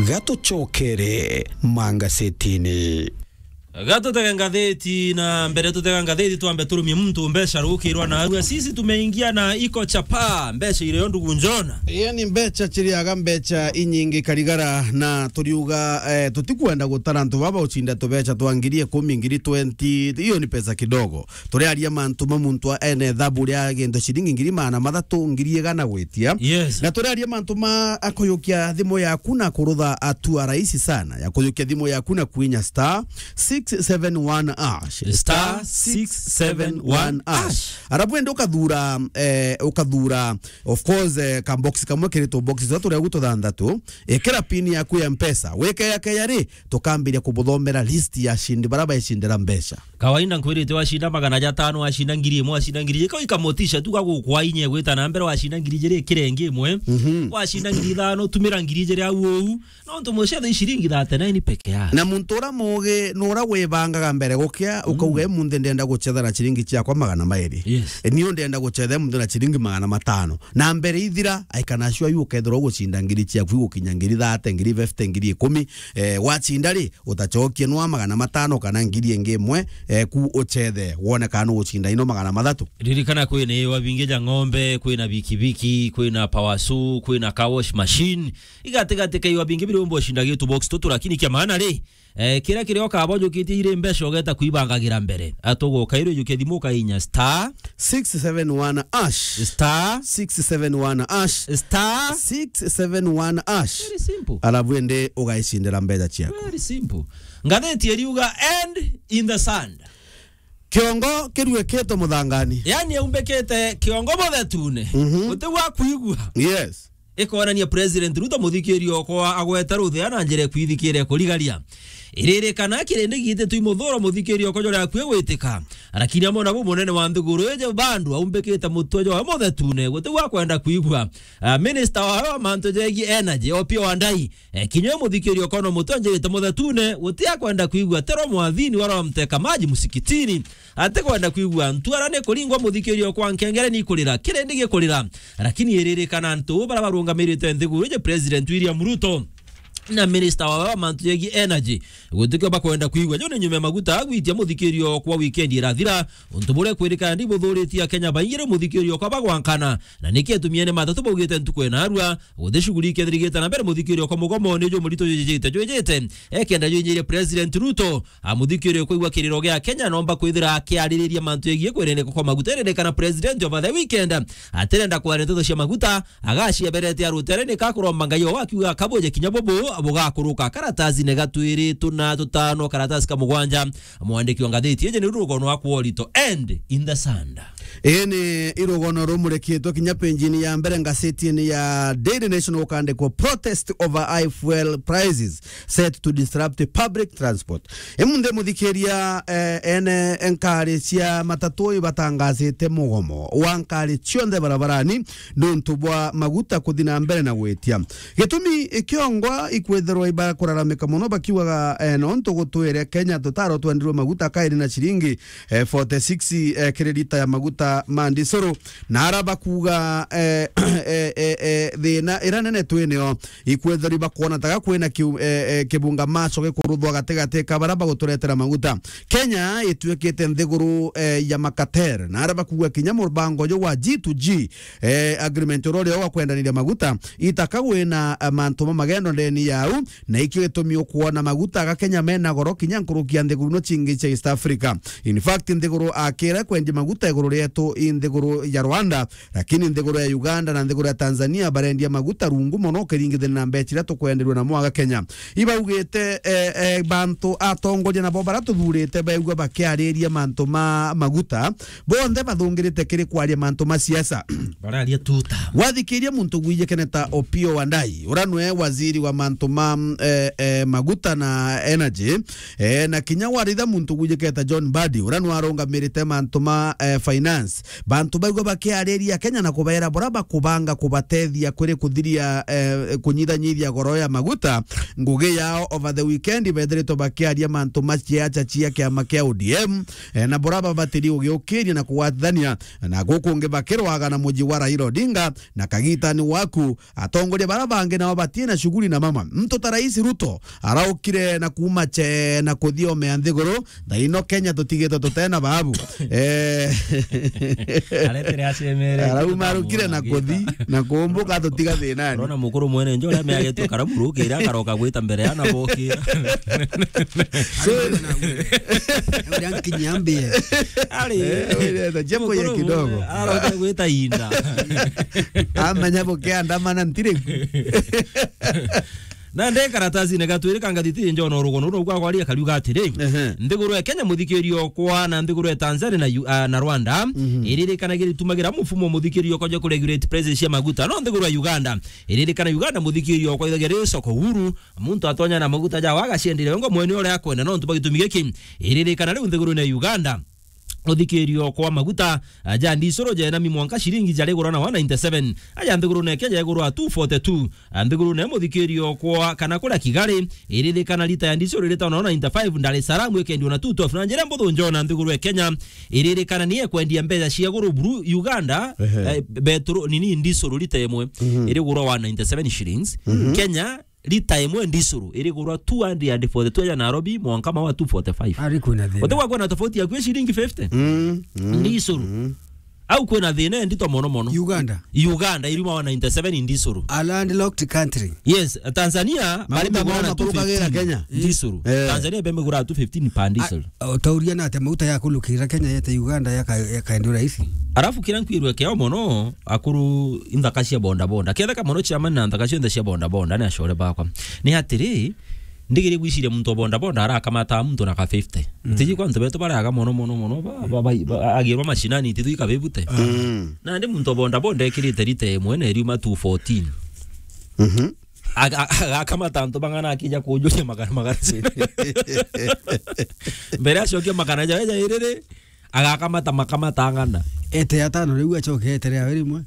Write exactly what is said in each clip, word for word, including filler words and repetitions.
Gatucokere mangasetini. Gatutege ngatheti, na mbere tutega ngatheti, twambe turumie muntu mbeca rukirwa na arua. Sisi tumeingia na iko chapa, mbeca irio ndugu Njona. Yaani mbeca chiriaga mbeca inyingi karigara, na turiuga, eh, tutikwenda gutara antu baba ucinda tubeca twa ngiri ikumi, ngiri twenty, hiyo ni pesa kidogo. Turiaria mantu ma muntu a-, ene thabu ria gintu ciringi ngiri magana mathatu, ngiri igana gwitia. Yes. Na turiaria mantu ma akuyukia thimu yaku na kurutha atua rahisi sana ya kuyukia thimu yaku na kwinya star six seven one hash. Star six seven one hash. Arabu ende ukathura, eh, ukathura, of course, eh, ka box kamwe kiritwo box za turia gututhanthatu. Ikira pin yaku ya Mpesa. Wike ya keya ri, tukambiria kubuthomera list ya ashindi bara baicindira mbeca. Kawaida nkwirite wacinda magana jatano, wacinda ngiri imwe, wacinda ngiri ijiri, ikamotisha tu gagukwa inya gwita na mbere, wacinda ngiri ijiri ikire ingi imwe, mhm, wacinda ngiri ithano, tumira ngiri ijiri au ou. Nontu mucetha i ciringi thirty-nine peke yake. Na muntu ura mugi ni ura wibangaga mbere gukia, mm, ukauga, "Emunthi ndenda gucetha na ciringi ciakwa magana mairi." Yes. E, niu ndenda gucetha emunthi na ciringi magana matano. Na mbere ithira, aikana cua yu ukethirwa ugucinda ngiri ciaku igukinya ngiri thirty, ngiri fifty, ngiri ikumi. Eh, wacinda ri, utacokie nwa magana matano kana ngiri ingi imwe, eh, ku uchethe, wone kana nugucinda ino magana mathatu. Ririkana kwina iwa bingi ja ng'ombe, kwina bikibiki, kwina power saw, kwina car wash machine. Igatigati ka iwa bingi biri umbo ucinda gitu box tutu, lakini kia maana ri, eh, kiria kiria ukabonjukitie iri mbeca ugeta kwibangagira mbere. Atuguka iri ujukia thimu ukainya star six seven one hash. Star six seven one hash. Star six seven one hash. Very simple. Alafu ende ugaicindira mbeca ciaku. Very simple. Ngatheti iriuga, "End in the sand." Kiongo kiruikite muthangani. Yaani aumbikite kiongo muthetune. Mhm. Guti gwa kuigua. Yes. Ikonania President Ruto, muthikiria okwa, agweta ruthea na njira ya kwithikira kurigaria. Iririkana kirindi gititwi muthuro muthikiria okwa jore akui gwitika. Lakini amwe nabo munene wa nthiguru iji bandu aumbikite mutwe jwawe muthetune, guti gwa kwenda kuigua. Ah, minister wawe wa mantu jegie energy, Opiyo Wandayi, eh, kinya uyu muthikiria okwa no mutwe anjirite muthetune, guti akwenda kuigua, tero mwathini wara wamteka maji musikitini. Atikwenda kwigua ntuara ni kuringwa, muthikiria okwa, nkengere ni ikurira, kirindi gikurira. Lakini iririkana antu bara barungamirite nthiguru iji, President William Ruto na minister wawe wa mantu jegie energy, gutikio bakwenda kwigua. Juu ni nyuma ya maguta gwitia, muthikiria okwa, weekend irathira, untu buria kwirikana ndibuthuritie Akenya baingi, riu muthikiria okwa bagwankana. Na niki atumia ni matatu baugite ntuku ena arua, guti shughuli ikethirigite na mbere, muthikiria okwa, mugomo ni jumurito jwijite, jwijite. Ekenda jwinyirie President Ruto, a, muthikiria kwigua kiriro gia Kenya, nomba kwithira akiaririria mantu jegie kwirindika kwa maguta. Iririkana President over the weekend atirenda kwaria nteto cia maguta, agacieberete arutere ni kakuromba Ngai o akiuga akabuje kinya bubu bugakuruka. Karatasi ni gatwiri tuna tutano, karatasi ka mugwanja. Mwandiki wa ngatheti iji ni rugono wa kworito, End in the Sand. Ii ni irugono rumurikitwe kinya penjini ya mbere ngasetini ya Daily Nation, gukandikwo, "Protest over high fuel prices set to disrupt public transport." Imunthi muthikiria, eh, ene nkari cia matatu ibatangasite mugomo wa nkari cionthe barabarani nuntu bwa maguta kuthi na mbere na gwitia. Gitumi ikiongwa ikwithirwa ibakuraramika muno bakiugaga, eh, nontu gutwire Kenya tutaro twendirwe maguta kairi na ciringi eh, forty six, eh, kiri lita ya maguta ma ndisuru. Na ara bakuga, eh, eh, eh, eh, thina ira nene twinio ikwethirwa bakwona taga kwina kiu-, eh, eh, kibunga macho gikuruthwa gatigati ka bara baguturetera maguta. Kenya ituikite nthiguru, eh, ya makater. Na ara bakuga kinya mubango uyu wa G to G, eh, agreement uria uria wa kwendaniria maguta, itaka wina, eh, mantu ma magendo ndeni yau, na ikio gitumi ukwona maguta aga Kenya mena goro kinya nkuruki ya nthiguru ino cingi cia East Africa. In fact, nthiguru akira kwendia maguta iguru rietu i nthiguru ya Rwanda, lakini nthiguru ya Uganda na nthiguru ya Tanzania barendia maguta rungu mono ukiringithania na mbeca iria tukwenderua namo aga Kenya. Ibaugite, eh, eh, bantu atongoria nabo bara tuthurite baigua bakiariria mantu ma maguta, bonthe bathungirite kiri kwaria mantu ma siasa. Bararia tuta. Wathikiria muntu gwijikene ta Opiyo Wandayi, ura nwe waziri wa mantu ma, eh, eh, maguta na energy, eh, na kinya waritha muntu gwijikene ta John Mbadi, ura nwe arungamirite mantu ma, eh, finance. Finance. Bantu baigua bakiariria Kenya na kubaira bura bakubanga kubatethia kuri kuthiria, eh, kunyithanyithia goro ya maguta. Ngugi yao over the weekend bethiritwe bakiaria mantu maciacha cia kiama kia O D M, eh, na bura babatiri ugiukiria na kugwatithania na gukungi bakirwaga na muji wa Raila Odinga na kagitani waku. Atongoria bara bangi nao batina shughuli na mama. Mtu ta Rais Ruto araukire na kuuma che na kuthia ome ya nthiguru, thaino Kenya tutigite tutena babu. Eh. Aretere acemere. Arauma arukire na kuthi, na kumbuka tutiga thinani. Urona mukuru mwene njo uria meagetwe karamu rukira akaroka gwita mbere ya na bokira. So, uria nkinyia mbie. Ari. Eh, uria ta jambo ya mukuru kidogo. Mwe, aroka gwita inda. Amenya bukiandamana ntiri. Na nde karatasi-ini gatwiri ka ngathiti injo na urugono rugwa kwaria kariuga atiri, ehe, nthiguru ya Kenya, muthikirio kwa na nthiguru ya Tanzania na Yu-, ah, na Rwanda, mhm, iririkanagira itumagira mufumo muthikirio kwa ja kuregulate prices cia maguta. No nthiguru ya Uganda, iririkana Uganda muthikirio kwa ithagia ri soko huru, muntu atonya na maguta ja wagaciendire ngo mwene uria akwenda, no ntu bagitumi giki. Iririkana riu nthiguru ya Uganda, uthikirio kwa maguta, ah, ja ndisuru jena mi mwanka ciringi jarigurwa na one ninety-seven, aja nthiguru na Kenya jagurwa two forty-two. Ah, nthiguru ne muthikirio kwa kana kuria Kigali, iririkana lita ya ndisuru iritagwa na one ninety-five, Dar es Salaam ikendio na two twelve. Na njira mbuthu njona nthiguru ya Kenya iririkana ni ekwendia mbeca cia guru buru Uganda, ehe, eh, beturu nini ndisuru lita imwe, mhm, irigurwa one ninety-seven shillings. Mhm. Kenya lita imwe ndisuru irigurwa two hundred forty-two ya Nairobi, mwanka mawa two forty-five. Ari kwina thina. Utigwa kwina tofauti ya kwi shilingi fifty? Mm, mm, ndisuru. Mm. Au kwina thina ndito mono mono. Uganda. Uganda iriuma one ninety-seven ndisuru. A landlocked country. Yes, Tanzania bari magura two fifteen. Kenya. Ndisuru. Eh. Tanzania bemegura two fifteen per diesel. Utauria na atia mauta ya kulukira Kenya yete Uganda yaka-, yakaendio rahisi? Arafu kira nkwirwe keo mono, akuru inthaka cia boda boda. Ketheka mono chairman na nthaka cionthe cia boda boda, ni acore bakwa. Ni atiri, ndigiri gwiciria muntu wa boda boda arakamata muntu na ka fifty. Mm. Tiji kwa antu betu baraga mono, mono, mono, ba, ba, ba, ba, agirwa mashinani, tithu ikabibute. Mm. Na ndi muntu wa boda boda ekirite rita imwe na iriuma two fourteen. Mhm. Aga-, aga-, agakamata antu bang'ana akija kunjuria magana, magana. Mbere acokia magana jawe jairiri, agakamata makamata ang'ana. Ete atano riu acoke etere awe rimwe.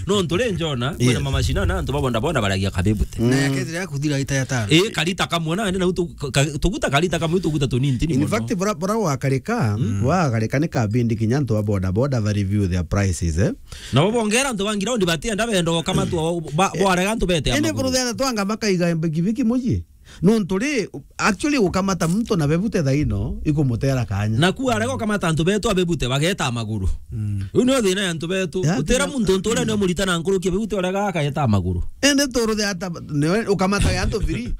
No ntu ri njona, kwina, yes, mamashina na antu ba boda boda baragia kabibute. Na, mm, yaketere akuthira ita ya tano. Ii, karita kamwe na, na utu-, ka-, tuguta karita kamwe, tuguta tunini tini. In fact, bora, bora wakarika, mm, wakarika ni kabindi kinya antu ba boda boda ba review their prices, eh? Nabo bongera antu ba ground batienda benda gukamatwa, ba-, bwarega antu bete. Indi amaguru. Kuruthera twanga bakaiga mbikibiki muji. Nontu ri, actually gukamata muntu na bebute thaino ikumutera kanya. Na ku arega gukamata antu betu abebute bageta amaguru. Mm. Riu nio thina ya antu betu. Ya, utera thina. Muntu untu uria nio murita na nkuruki bebute urega akageta amaguru. Indi turuthe ata niwe ukamata ya antu free.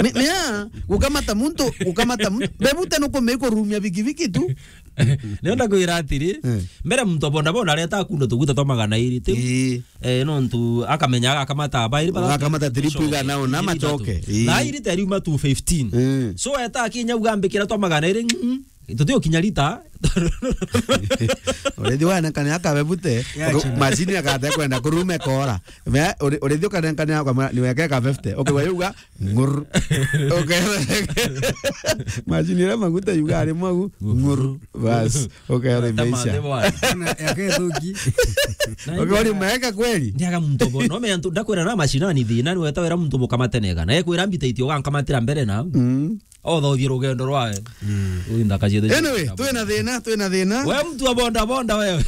Ni, ni ya, gukamata muntu, gukamata muntu. Bebute nukume kurumia bikibiki tu. Nenda kwira atiri, eh, mbere muntu wa boda boda areta akundo tuguta twa magana iri, ti? Ii. Eh, nontu akamenya agakamata bairi ba-, agakamata trip igana ona macoke. Ii. Thaa iri teriuma two fifteen. Ii. So eta akinya ugambikira twa magana iri, mm, tuti ukinya rita. Urethi wa nekane akabe bute. Ya, uke-, chini. Macini akate kwenda kurume kora. Me, ure-, urethi ukanenkane akwa niweke ka fifty. Okay, wayuga, Ngur. Okay. Macini iria maguta yuga ari mwagu. Ngur. Bas. Okay, ore. Tama meisha. Ate bwana. Na yake thuki. Okay, ori maeka kweli? Ndiaga muntu bo. No me antu ndakwira na mashinani thina, ni weta wira muntu mukamate nega. Na ekwira mbita itio gankamatira mbere na. Mm. Othothie rugendo rwawe. Mm. Uyu nthaka cietu. Anyway, twina thina, twina thina. We mtu wa boda boda wewe.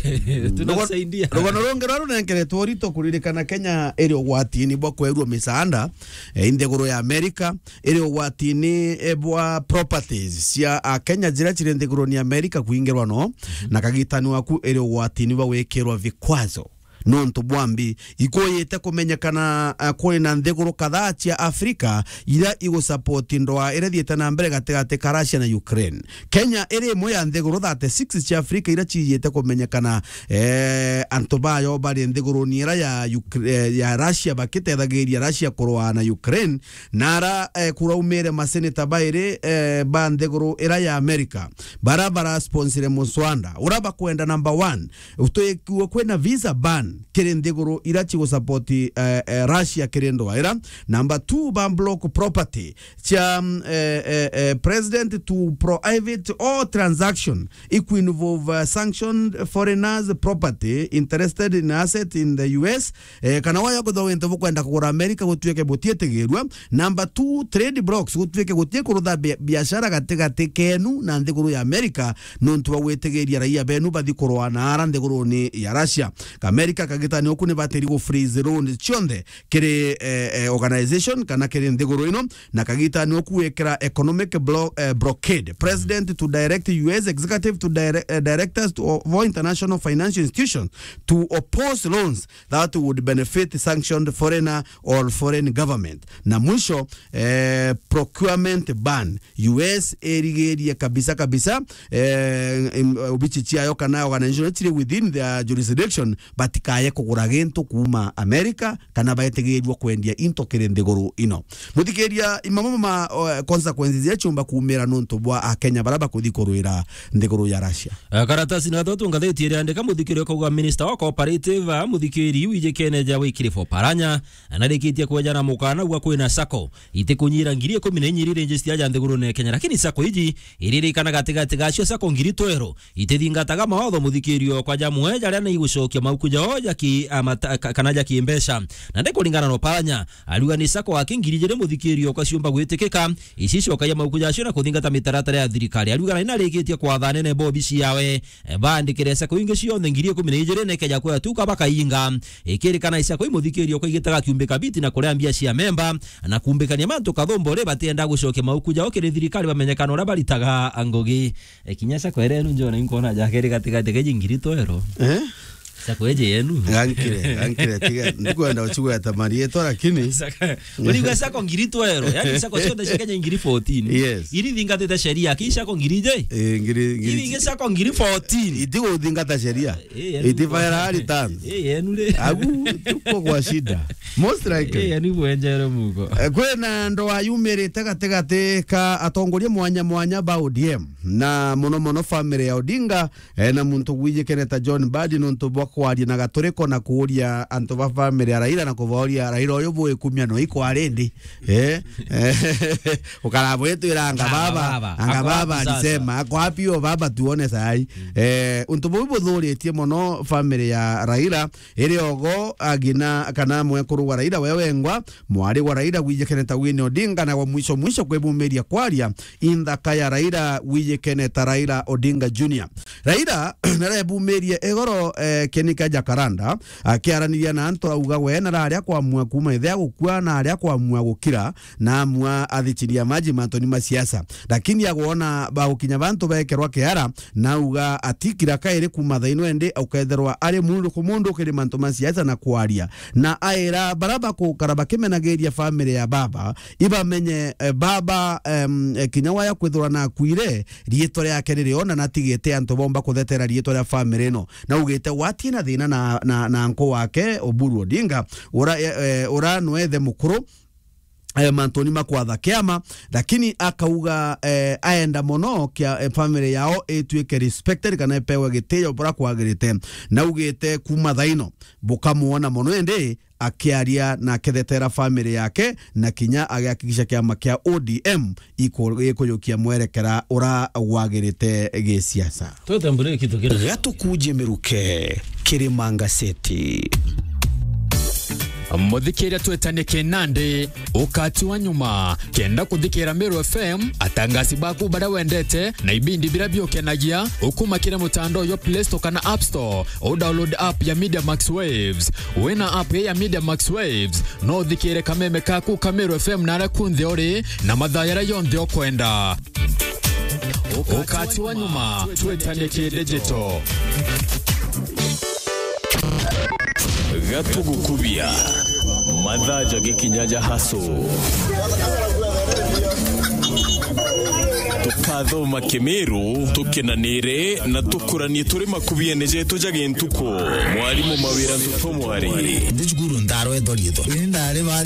Tunakusaidia. Rugono rungi rwa runenkeretwo urito kuririkana Kenya iri ugwatini bwa kwerua misaanda, eh, i nthiguru ya Amerika, iri ugwatini, eh, bwa properties cia Akenya jira ciri nthiguruni ya Amerika kuingirwa no, mhm, na kagitani waku iri ugwatini bwa gwikirwa vikwazo. Nontu bwa mbi ikuyite kumenyekana, eh, kuri na nthiguru kadhaa cia Afrika ira igusupport ndwaa ira thiite na mbere gatigati ka Russia na Ukraine. Kenya iri imwe ya nthiguru thirty-six cia Afrika ira ciijite kumenyekana, eh, antu bayo bari nthiguruni ira ya Ukra-, eh, ya Russia bakitethagiria Russia kurwaa na Ukraine, na ara, eh, kuraumire maseneta bairi, eh, ba nthiguru ira ya America, bara barasponsire muswanda ura bakwenda number one, utwikue kwina visa ban, kiri nthiguru ira cigu support, eh, eh, Russia kiri ndwaira. Number two, ba block property cia, mm, eh, eh, eh, president to prohibit all transaction equal involve, uh, sanctioned foreigners property interested in asset in the U S, eh, kana waya kwithirwa wintu bukwenda kugura America gutuike butietigirua. Number two, trade blocks gutuike gutie kurutha bi-, biashara gatigati kenu na nthiguru ya America, nontu bwa gwitigiria raia benu bathi kurwa na ara nthiguruni ya Russia. America kagitani uku ni batiri gu freeze loans cionthe kiri, eh, eh, organization kana kiri nthiguru ino, na kagitani uku gwikira economic blo-, eh, blockade. President to direct U S executive to dire-, eh, directors to, of all international financial institutions to oppose loans that would benefit sanctioned foreigner or foreign government. Na mwisho, eh, procurement ban. U S irigirie kabisa kabisa, eh, im-, obici ciayo kana organization ciri within their jurisdiction batikaye kugura gintu kuuma America kana baetigirwa kwendia into kiri nthiguru ino. Muthikiria, imamo ma, o, consequences iria ciumba kuumira nontu bwa Akenya bara bakuthi kurwira nthiguru ya Russia. Eh, karatasi na thatu ngatheti iria andika muthikiri ukauga minister wa cooperative, ah, muthikiri wijikene ja Wycliffe Oparanya, anarikitie kwejana mukana gwa kwina sacco itikunyira ngiri ikumi na inya iri register ja nthigurune ya Kenya, lakini sacco iji iririkana gatigati gacio sacco ngiri tweru itithingataga mawatho muthikirio kwa jamwe jaria ni igucokia mauku jao jaki, amata-, ka-, kana jaki mbeca. Na ndi kuringana na Oparanya, ariuga ni sacco aki ngiri ijiri muthikirio kwa ciumba gwitikika, ici icokagia mauku jacio na kuthingata mitaratara ya thirikari. Ariuga na inarikitie kwatha anene ba obici yawe, eh, baandikire sacco ingi cionthe ngiri ikumi na ijiri nekeja kwea tuka bakainga. Ikirikana isacco imuthikirio kwa igitaga kiumbi kabiti na kuria mbia cia memba na kumbikania mantu kathumbo ri batienda gucokia mauku jao kiri thirikari bamenyekana uria baritaga ngugi. E, kinya sacco ere enu njona inkona jakeri gatigati keji ngiri twero. Eh? Sacco eje yenu. Gankire, gankire, tiga, ndikwenda ucigweta marietwa, lakini sacco, uriuga sacco ngiri twero, yani sacco cionthe cia Kenya ngiri fourteen. Yes. Iri thingatite sheria, ki sacco ngiri je? Eh, ngiri, ngiri. Iri ingi sacco ngiri fourteen. Itiguthingata sheria. Eh, yenu. Itifaira returns. Eh, yenu ri. Agu, tuko kwa shida. Most likely. Eh, yenu bwenjere mugo. Eh, kwina ndoa yumirite gatigati ka atongoria mwanya mwanya ba O D M, na muno muno family ya Odinga, eh, na muntu gwijikene ta John Mbadi nontu bwa kwaria na gaturiko na kuuria antu ba family ya Raila na kubaoria, "Raila uyu bwikumia no ikwa rindi?" Eh, eh, ukara bwitwira anga baba, anga baba alisema, "Ako wapi huyo baba tuone sai?" Eh, untu buu buthuritie muno family ya Raila, iri ogo agina kana mwekuru wa Raila we wengwa, mwari wa Raila gwijikene ta Winnie Odinga, na wa mwisho mwisho kwibumiria kwaria inthaka ya Raila gwijikene ta Raila Odinga Junior. Raila narebumirie igoro, eh, kieni kia Jacaranda, akiaraniria na antu auga we nararia kwamua kuuma ithe agukua na aria kwamua gukira, na amua athichiria maji mantoni ma siasa. Lakini agwona bagukinya bantu bekerwa kiara, na auga atikira kairi kuuma thaino indi ukethirwa ari mundu ku mundu kiri mantu ma siasa na kwaria. Na aira bara bakukara bakimenagiria family ya baba, ibamenye, eh, baba, em, eh, kinya waya kwithirwa na akuire, riitwa riake ririona na atigite antu bomba kuthetera riitwa ria family ino. Na ugite watie na thina na, na, na nku wake Oburu Odinga, ura, eh, eh, ura nwethe mukuru, eh, mantuni ma kwatha kiama, lakini akauga, eh, aenda mono kia, eh, family yao ituike respected kana ipewe gitio bura kwagirite. Na ugite kuuma thaino bukamuona mono indi akiaria na akethetera family yake, na kinya agihakikisha kiama kia O D M iku-, gikujukia mwerekera ura wagirite gisiasa. Twete mbure kitu kira. Gatukuje miruke, Kirima Ngaseti. Muthikiria twetanie kinandi, ukati wa nyuma, kenda kuthikira Meru F M, atangasi baku baria wendete, na ibindi biria biukenagia, ukumakire mutandao yo Play Store kana App Store, u download app ya Media Max Waves. Wina app ya Media Max Waves, no uthikire kameme kaku ka Meru F M na aria kunthe uri, na mathaa yaria yonthe ukwenda. Ukati wa nyuma, twetanie ki digital. Gatugukubia. Mathaa ja gikinya ja haso. Tukathoma Kimiru, tukenanire na tukuranie turi makubiene jetu ja gintuku. Mwarimu Mawira Ntutu Mwari. Ndi cukuru ndarwetwa riitwa. Ni ndari ba